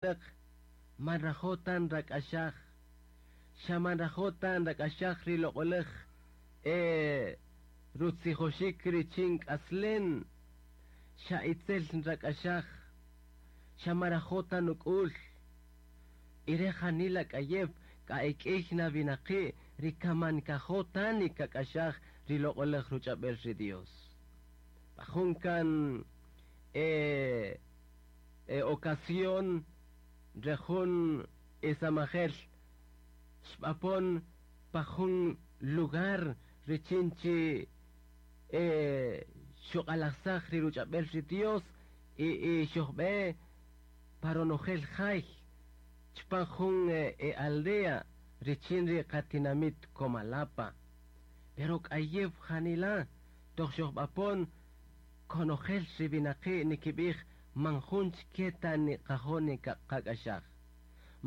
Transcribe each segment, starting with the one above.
Winäq ma nrajo' ta nrak'axaj, xa ma nrajo' ta nrak'axaj ri loq'oläj rutzijoxik richin k'aslem, xa itzel nrak'axaj, xa ma nrajo' ta nuk'ül. Y re' janila k'ayew k'a e k'ïy na winaqi' ri kan man nkajo' ta nikak'axaj ri loq'oläj ruch'ab'äl ri Dios. Pa jun kan ocasión re jun isamajel xb'apon pa jun lugar richin chi xuq'alajsaj ri ruch'ab'äl ri Dios y xojb'e pa ronojel jay chpan jun aldea richin ri qatinamit Comalapa. Pero k'ayew janila toq xojb'apon konojel ri winaqi' nikib'ij man jun chike ta niqajo' niqak'axaj.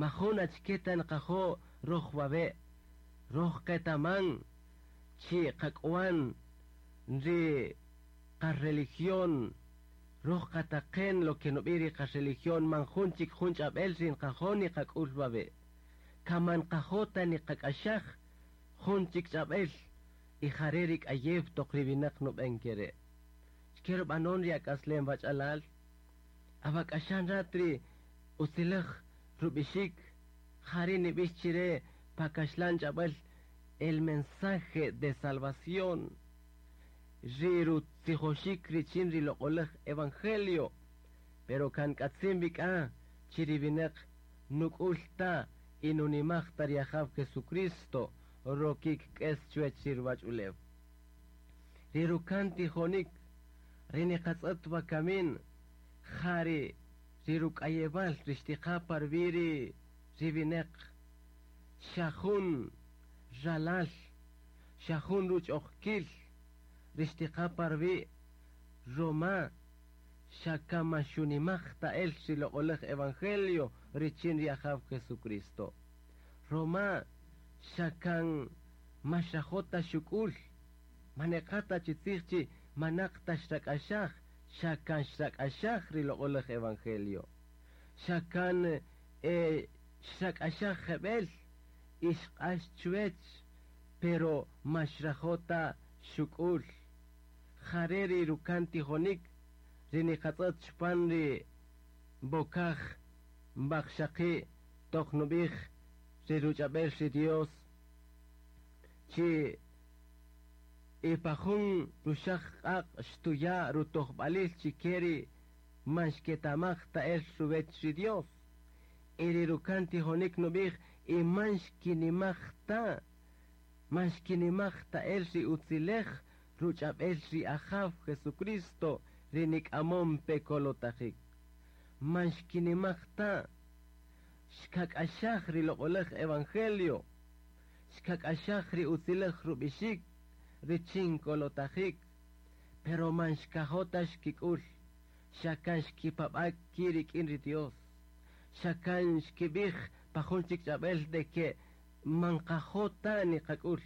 Majun achike ta nqajo' roj wawe', roj qetaman chi qak'wan ri qareligión, roj qataqen lo que nub'ij ri qareligión man jun chik jun ch'ab'äl ri nqajo' niqak'ül wawe'. Kan man nqajo' ta niqak'axaj jun chik ch'ab'äl y jare' ri k'ayew toq ri winäq nub'än ke re'. Xke rub'anon ri ak'aslem wach'alal, awak'axan rat ri utziläj rub'ixik jare' nib'ix chire pa kaxlan ch'ab'äl el mensaje de salvación ri rutzijoxik richin ri loq'oläj evangelio, pero kan k'atzin b'ik'a chi ri winäq nuk'ül ta y nunimaj ta ri Ajaw Jesucristo rokik k'es chuwäch ri ruwach'ulew. Ri rukan tijonik ri niqatz'ët wakamin ja ri ri ruk'ayewal ri xtiqa pa ruwi' ri ri winäq xa jun ralal, xa jun ruch'ojkil ri xtiqa pa ruwi' ruma xa kan man xunimaj ta el ri loq'oläj evangelio richin ri Ajaw Jesucristo. Ruma xa kan ma xrajo' ta xuk'ül, man neqa ta chi tzij chi manaq ta xrak'axaj, xa kan xrak'axaj ri loq'oläj evangelio. Xa kan xrak'axaj jeb'ël y xq'ax chuwäch, pero ma xrajo' ta xuk'ül. Jare' ri rukan tijonik ri niqatz'ët chpan ri b'okaj waqxaqi' toq nub'ij ri ruch'ab'äl ri Dios chi y pa jun ruxaq q'aq' xtuya' rutojb'alil chike ri man xketamaj ta el ruwäch ri Dios. Y ri rukan tijonik nub'ij y man xkinimaj ta, man xkinimaj ta el ri utziläj ruch'ab'äl ri Ajaw Jesucristo ri nik'amon pe kolotajik. Man xkinimaj ta, xkak'axaj ri loq'oläj evangelio, xkak'axaj ri utziläj rub'ixik richin kolotajik, pero man xkajo' ta xkik'ül, xa kan xkipab'a' ki' rik'in ri Dios. Xa kan xkib'ij pa jun chik ch'ab'äl de que man qajo' ta niqak'ül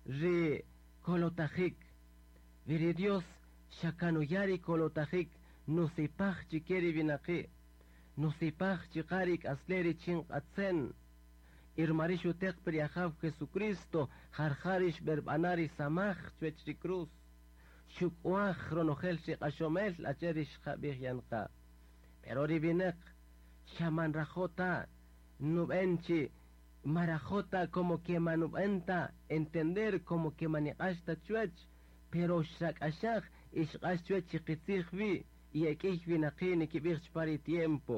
ri kolotajik. Wi ri Dios xa kan nuya' ri kolotajik nusipaj chike ri winaqi', nusipaj chuqa' ri k'aslem richin q'atzen. Y ruma ri' xuteq pe ri Ajaw Jesucristo jarja' ri xb'erb'ana' ri samaj chuwäch ri cruz. Xuk'waj ronojel ri q'axomel achi'el ri xqab'ij yan qa. Pero ri winäq xa man nrajo' ta nub'än chi ma rajo' ta como que man nub'än ta entender como que man niq'ax ta chuwäch, pero xrak'axaj y xq'ax chuwäch chi qitzij wi y e k'ïy winaqi' nikib'ij chpan ri tiempo.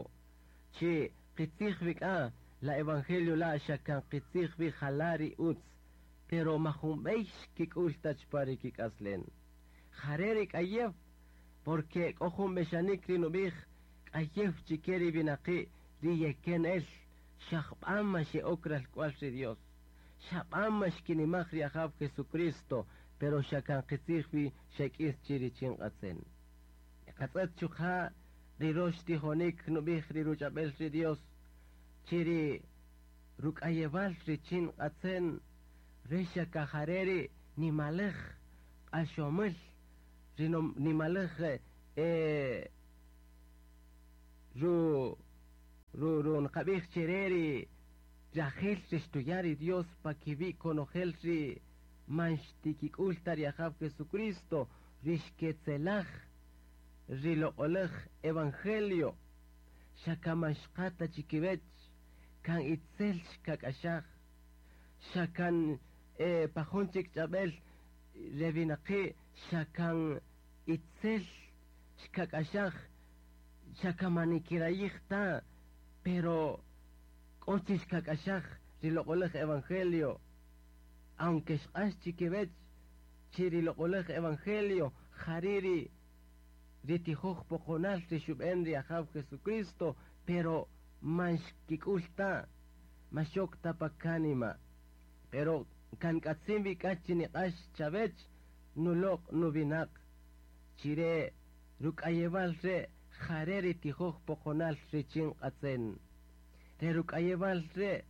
Chi qitzij wi k'a la evangelio la xa kan qitzij wi jala' ri utz, pero majun b'ey xkik'ül ta chpan ri kik'aslem. Jare' ri k'ayew, porque k'o jun b'exanik ri nub'ij k'ayew chike ri winaqi' ri yeken el, xa jb'a' ma xe'ok ralk'wal ri Dios. Xa b'a' ma xkinimaj ri Ajaw Jesucristo, pero xa kan qitzij wi xek'is chi richin q'atzen. Qatz'ët chuqa' ri rox tijonik nub'ij ri ruch'ab'äl ri Dios, chi ri ruk'ayewal richin q'atzen, re xa kajare' ri nimaläj q'axomil, ri nimaläj ru ru ru nqab'ij chire ri rajil ri xtuya' ri Dios pa kiwi' konojel ri man xtikik'ul ta ri Ajaw Jesucristo ri xketzelaj ri loq'olaj evangelio xa kan man xqa ta chikiwech kan itzel xkak'axaj xa kan pa jun chik ch'ab'el re winaqi' xa kan itzel xkak'axaj xa kan man nikirayij ta pero k'o chi xkak'axaj ri loq'olaj evangelio aunque xq'ax chikiwech chi ri loq'olaj evangelio jari' ri ri tijoj poqonal ri xub'en ri Ajaw Jesucristo pero man xkik'ul ta man xok ta pa kánima pero kan k'atzin wi k'a chi niq'ax chawech nuloq' nuwinaq chire ruk'ayewal re' jare' ri tijoj poqonal richin q'atzen re ruk'ayewal re'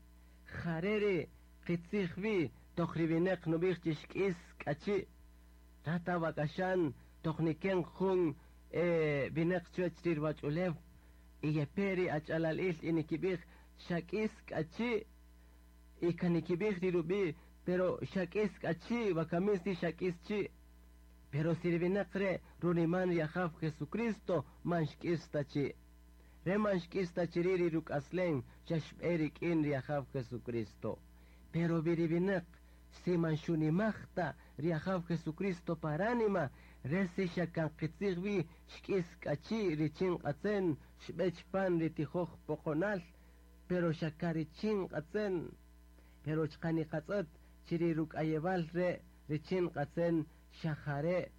jare' ri qitzij wi toq ri winaq nub'ij chi xk'is k'achi' tata wak'axan toq niken jun winaq chuwach ri ruwach'ulew y yepe ri ach'alalil y nikib'ij xak'is k'achi' y kan nikib'ij ri rub'i' pero xak'is k'achi' wakamis ri xak'is chi' pero si ri winaq re' runiman ri Ajaw Jesucristo man xk'is ta chi' re man xk'is ta chi ri' ri ruk'aslen xa xb'e rik'in ri Ajaw Jesucristo pero wi ri winaq si man xunimaj ta ri Ajaw Jesucristo pa ránima re si xa kan qitzij wi xk'is k'achi' richin q'atzen xb'e chpan ri tijoj poqonal pero xa ka richin q'atzen pero chqa niqatz'ët chi ri ruk'ayewal re' richin q'atzen xa jare'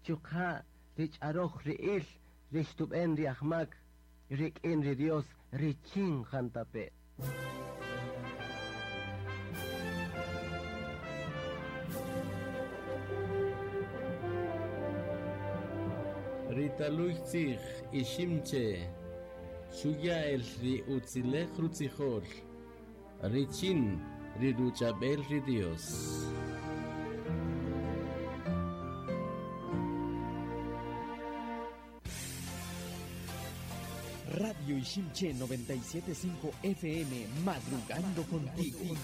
chuqa' ri ch'aroj ri'il ri xtub'en ri ajmak rik'in ri Dios richin jantape'. Ritaluy tzij iximche xuya el ri utzilej rutzijol richin ri ruch'ab'el ri Dios. Radio Iximché 97.5 FM, madrugando contigo.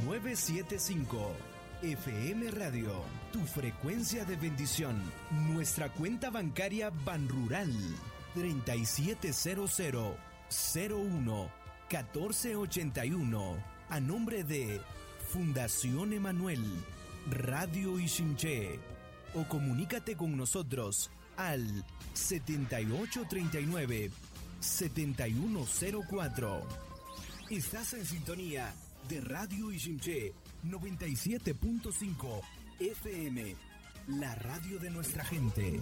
975 FM Radio, tu frecuencia de bendición. Nuestra cuenta bancaria Banrural 3700 01 1481 a nombre de Fundación Emanuel Radio Iximché o comunícate con nosotros al 7839 7104. Estás en sintonía de Radio Iximché 97.5 FM, la radio de nuestra gente.